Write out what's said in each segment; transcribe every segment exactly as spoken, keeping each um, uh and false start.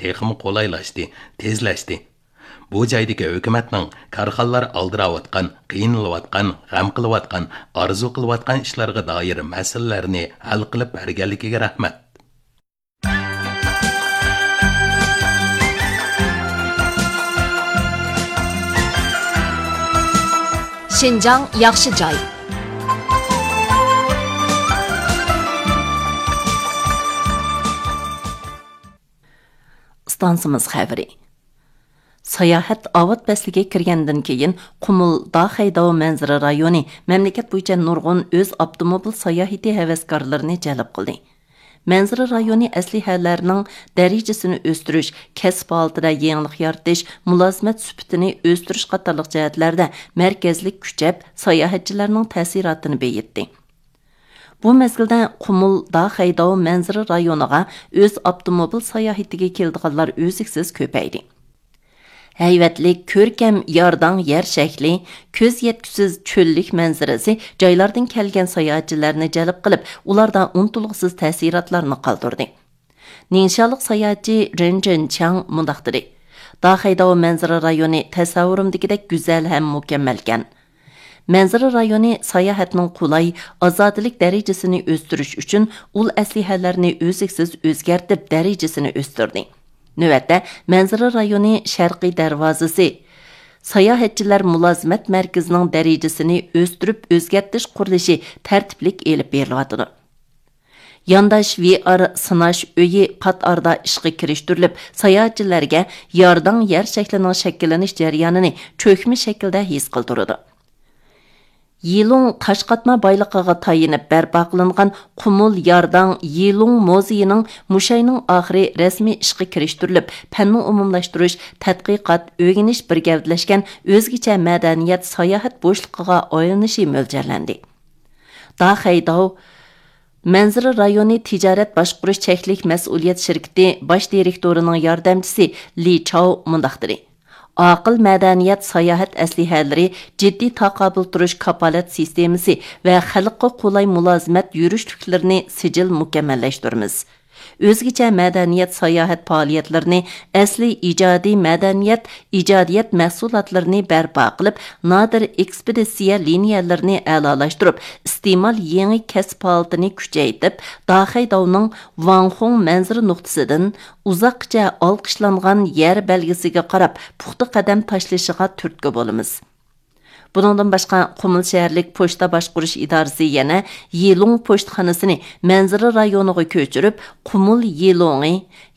تېخىمۇ قولايلاشتى، تېزلەشتى. بۇ جايدىكى ھۆكۈمەتنىڭ كارخانىلار ئالدىراۋاتقان، قىينىلىۋاتقان، غەم قىلىۋاتقان، ئارزۇ قىلىۋاتقان ئىشلارغا دائىر مەسىلىلەرنى ھەل قىلىپ بەرگەنلىكىگە رەھمەت. شىنجاڭ ياخشى جاي. ئىستانسىمىز خەۋىرى. ساياھەت ئاۋات پەسلىگە كىرگەندىن كېيىن، قۇمۇل داخەيداۋ مەنزىرە رايونى مەملىكەت بويىچە نۇرغۇن ئۆز ئاپتوموبىل ساياھىتى ھەۋەسكارلىرىنى جەلپ قىلدى. مەنزىرە رايونى ئەسلىھەلەرنىڭ دەرىجىسىنى ئۆستۈرۈش، كەسىپ ھالىتىدە يېڭىلىق يارىتىش، مۇلازىمەت سۈپىتىنى ئۆستۈرۈش قاتارلىق جەھەتلەردە مەركەزلىك كۈچەپ، ساياھەتچىلەرنىڭ تەسىراتىنى بېيىتتى. بۇ مەزگىلدە قۇمۇل داخەيداۋ مەنزىرە رايونىغا ئۆز ئاپتوموبىل ساياھىتىگە كېلىدىغانلار ئۈزلۈكسىز كۆپەيدى. ھەيۋەتلىك، كۆركەم يارداڭ يەر شەكلى، كۆز يەتكۈسىز چۆللۈك مەنزىرىسى جايلاردىن كەلگەن ساياھەتچىلەرنى جەلپ قىلىپ، ئۇلاردا ئۇنتۇلغۇسىز تەسىراتلارنى قالدۇردى. نىڭشالىق ساياھەتچى رېن جېنچياڭ مۇنداق دېدى: داخەيداۋ مەنزىرە رايونى تەسەۋۋۇرۇمدىكىدەك گۈزەل ھەم مۇكەممەلكەن. مەنزىرە رايونى ساياھەتنىڭ قولاي، ئازادىلىك دەرىجىسىنى ئۆستۈرۈش ئۈچۈن ئۇل ئەسلىھەلەرنى ئۈزلۈكسىز ئۆزگەرتىپ، دەرىجىسىنى ئۆستۈردى. نۆۋەتتە، مەنزىرە رايونى شەرقىي دەرۋازىسى ساياھەتچىلەر مۇلازىمەت مەركىزىنىڭ دەرىجىسىنى ئۆستۈرۈپ ئۆزگەرتىش قۇرۇلۇشى تەرتىپلىك ئېلىپ بېرىلىۋاتىدۇ. يانداش ۋىئار سىناش ئۆيى پات ئارىدا ئىشقا كىرىشتۈرۈلۈپ، ساياھەتچىلەرگە يارداڭ يەر شەكلىنىڭ شەكىللىنىش جەريانىنى چۆكمە شەكىلدە ھېس قىلدۇرىدۇ. يىلۇڭ تاش قاتما بايلىقىغا تايىنىپ بەرپا قىلىنغان قۇمۇل يارداڭ يىلۇڭ مۇزېيىنىڭ مۇشۇ ئاينىڭ ئاخىرى رەسمىي ئىشقا كىرىشتۈرۈلۈپ، پەننى ئومۇملاشتۇرۇش، تەتقىقات، ئۆگىنىش بىر گەۋدىلەشكەن ئۆزگىچە مەدەنىيەت ساياھەت بوشلۇقىغا ئايلىنىشى مۆلچەرلەندى. داخەيداۋ مەنزىرە رايونى تىجارەت باشقۇرۇش چەكلىك مەسئۇلىيەت شىركىتى باش دىرېكتورىنىڭ ياردەمچىسى لى چاۋ مۇنداق دېدى: ئاقىل مەدەنىيەت ساياھەت ئەسلىھەلىرى، جىددىي تاقابىل تۇرۇش كاپالەت سىستېمىسى ۋە خەلققە قولاي مۇلازىمەت يۈرۈشلۈكلىرىنى سىجىل مۇكەممەللەشتۈرىمىز. ئۆزگىچە مەدەنىيەت ساياھەت پائالىيەتلىرىنى، ئەسلىي ئىجادىي مەدەنىيەت ئىجادىيەت مەھسۇلاتلىرىنى بەرپا قىلىپ، نادىر ئېكسپېدىتسىيە لىنىيەلىرىنى ئەلالاشتۇرۇپ، ئىستېمال يېڭى كەسىپ ھالىتىنى كۈچەيتىپ، داخەيداۋنىڭ ۋاڭخۇڭ مەنزىرە نۇقتىسىدىن ئۇزاققىچە ئالقىشلانغان يەر بەلگىسىگە قاراپ پۇختا قەدەم تاشلىشىغا تۈرتكە بولىمىز. بۇنىڭدىن باشقا، قۇمۇل شەھەرلىك پوچتا باشقۇرۇش ئىدارىسى يەنە يىلۇڭ پوچتىخانىسىنى مەنزىرە رايونىغا كۆچۈرۈپ، قۇمۇل يىلۇڭى،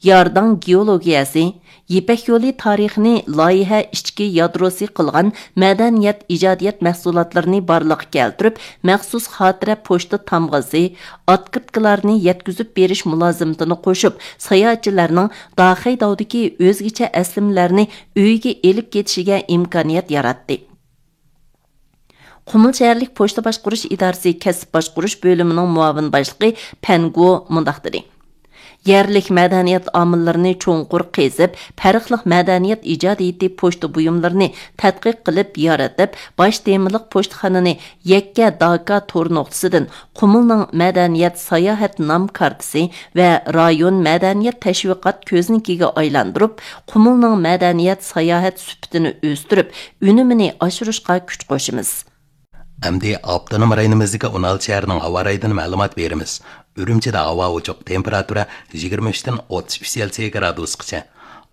يارداڭ گېئولوگىيەسى، يىپەك يولى تارىخىنى لايىھە ئىچكى يادروسى قىلغان مەدەنىيەت ئىجادىيەت مەھسۇلاتلىرىنى بارلىققا كەلتۈرۈپ، مەخسۇس خاتىرە پوچتا تامغىسى، ئاتكرىتكىلارنى يەتكۈزۈپ بېرىش مۇلازىمىتىنى قوشۇپ، ساياھەتچىلەرنىڭ داخەيداۋدىكى ئۆزگىچە ئەسلىمىلەرنى ئۆيىگە ئېلىپ كېتىشىگە ئىمكانىيەت ياراتتى. قۇمۇل شەھەرلىك پوچتا باشقۇرۇش ئىدارىسى كەسىپ باشقۇرۇش بۆلۈمىنىڭ مۇئاۋىن باشلىقى پەن گو مۇنداق دېدى: يەرلىك مەدەنىيەت ئامىللىرىنى چوڭقۇر قېزىپ، پەرقلىق مەدەنىيەت ئىجادىيىتى پوچتا بۇيۇملىرىنى تەتقىق قىلىپ يارىتىپ، باش تېمىلىق پوچتىخانىنى يەككە داكا تور نۇقتىسىدىن قۇمۇلنىڭ مەدەنىيەت ساياھەت نام كارتىسى ۋە رايون مەدەنىيەت تەشۋىقات كۆزنىكىگە ئايلاندۇرۇپ، قۇمۇلنىڭ مەدەنىيەت ساياھەت سۈپىتىنى ئۆستۈرۈپ، ئۈنۈمىنى ئاشۇرۇشقا كۈچ قوشىمىز. ئەمدى ئاپتونوم رايونىمىزدىكى ئون ئالتە شەھەرنىڭ ھاۋا رايىدىن مەلۇمات بېرىمىز. ئۈرۈمچىدە ھاۋا ئوچۇق، تېمپېراتۇرا يىگىرمە ئۈچتىن ئوتتۇز ئۈچ سېلسىيە گرادۇسقىچە.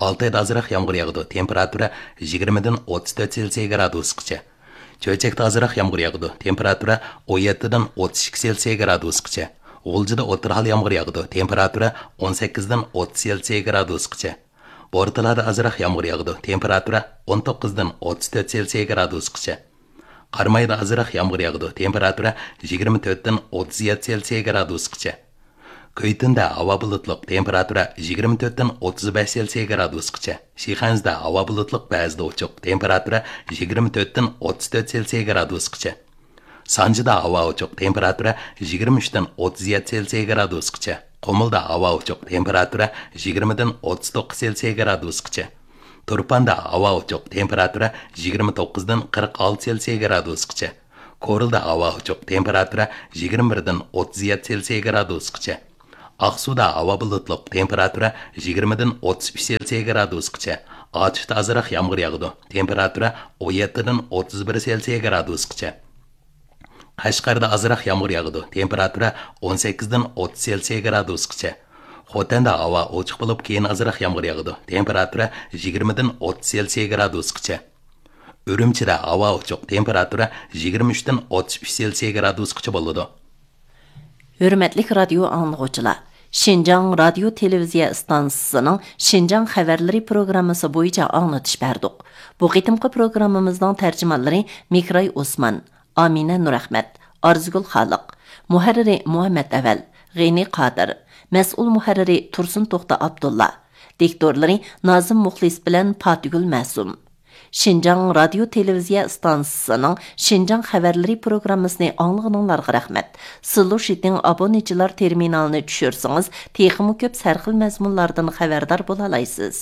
ئالتايدا ئازراق يامغۇر ياغىدۇ، تېمپېراتۇرا يىگىرمىدىن ئوتتۇز تۆت سېلسىيە گرادۇسقىچە. چۆچەكتە ئازراق يامغۇر ياغىدۇ، تېمپېراتۇرا ئون يەتتىدىن ئوتتۇز ئىككى سېلسىيە گرادۇسقىچە. غۇلجىدا ئوتتۇرا ھال يامغۇر ياغىدۇ، تېمپېراتۇرا ئون سەككىزدىن ئوتتۇز سېلسىيە گرادۇسقىچە. بورتالادا ئازراق يامغۇر ياغىدۇ، تېمپېراتۇرا ئون توققۇزدىن ئوتتۇز تۆت سېلسىيە گرادۇسقىچە. قارامايدا ئازراق يامغۇر ياغىدۇ، تېمپېراتۇرا يىگىرمە تۆتتىن ئوتتۇز يەتتە سېلسىيە گرادۇسقىچە. كۈيتۈندە ھاۋا بۇلۇتلۇق، تېمپېراتۇرا يىگىرمە تۆتتىن ئوتتۇز بەش سېلسىيە گرادۇسقىچە. شىخەنزىدە ھاۋا بۇلۇتلۇق، بەزىدە ئوچۇق، تېمپېراتۇرا يىگىرمە تۆتتىن ئوتتۇز تۆت سېلسىيە گرادۇسقىچە. سانجىدا ھاۋا ئوچۇق، تېمپېراتۇرا يىگىرمە ئۈچتىن ئوتتۇز يەتتە سېلسىيە گرادۇسقىچە. قۇمۇلدا ھاۋا ئوچۇق، تېمپېراتۇرا يىگىرمىدىن ئوتتۇز توققۇز سېلسىيە گرادۇسقىچە. تۇرپاندا ھاۋا ئوچۇق، تېمپېراتۇرا يىگىرمە توققۇزدىن قىرىق ئالتە سېلسىيە گرادۇسقىچە. كورلىدا ھاۋا ئوچۇق، تېمپېراتۇرا يىگىرمە بىردىن ئوتتۇز يەتتە سېلسىيە گرادۇسقىچە. ئاقسۇدا ھاۋا بۇلۇتلۇق، تېمپېراتۇرا يىگىرمىدىن ئوتتۇز ئۈچ سېلسىيە گرادۇسقىچە. ئاچۇشتا ئازراق يامغۇر ياغىدۇ، تېمپېراتۇرا ئون يەتتىدىن ئوتتۇز بىر سېلسىيە گرادۇسقىچە. قەشقەردە ئازراق يامغۇر ياغىدۇ، تېمپېراتۇرا ئون سەككىزدىن ئوتتۇز سېلسىيە گرادۇسقىچە. خوتەندە ھاۋا ئوچۇق بولۇپ، كېيىن ئازراق يامغۇر ياغىدۇ، تېمپېراتۇرا يىگىرمىدىن ئوتتۇز سېلسىيە گرادۇسقىچە. ئۈرۈمچىدە ھاۋا ئوچۇق، تېمپېراتۇرا يىگىرمە ئۈچتىن ئوتتۇز ئۈچ سېلسىيە گرادۇسقىچە بولىدۇ. ھۆرمەتلىك رادىيو ئاڭلىغۇچىلار، شىنجاڭ رادىيو تېلېۋىزىيە ئىستانسىسىنىڭ شىنجاڭ خەۋەرلىرى پروگراممىسى بويىچە ئاڭلىتىش بەردۇق. بۇ قېتىمقى پروگراممىمىزنىڭ تەرجىمانلىرى مىكراي ئوسمان، ئامىنە نۇرئەخمەت، ئارزۇگۈل خالىق، مۇھەررىرى مۇھەممەت ئەۋەل، غېنى قادىر، مەسئۇل مۇھەررىرى تۇرسۇن توختى ئابدۇللا، دىكتورلىرى نازىم مۇخلىس بىلەن پاتىگۈل مەسۇم. شىنجاڭ رادىيو تېلېۋىزىيە ئىستانسىسىنىڭ شىنجاڭ خەۋەرلىرى پروگراممىسىنى ئاڭلىغىنىڭلارغا رەھمەت. سىلۇشىتىڭ ئابونېنتچىلار تېرمىنالىنى چۈشۈرسىڭىز، تېخىمۇ كۆپ سەرخىل مەزمۇنلاردىن خەۋەردار بولالايسىز.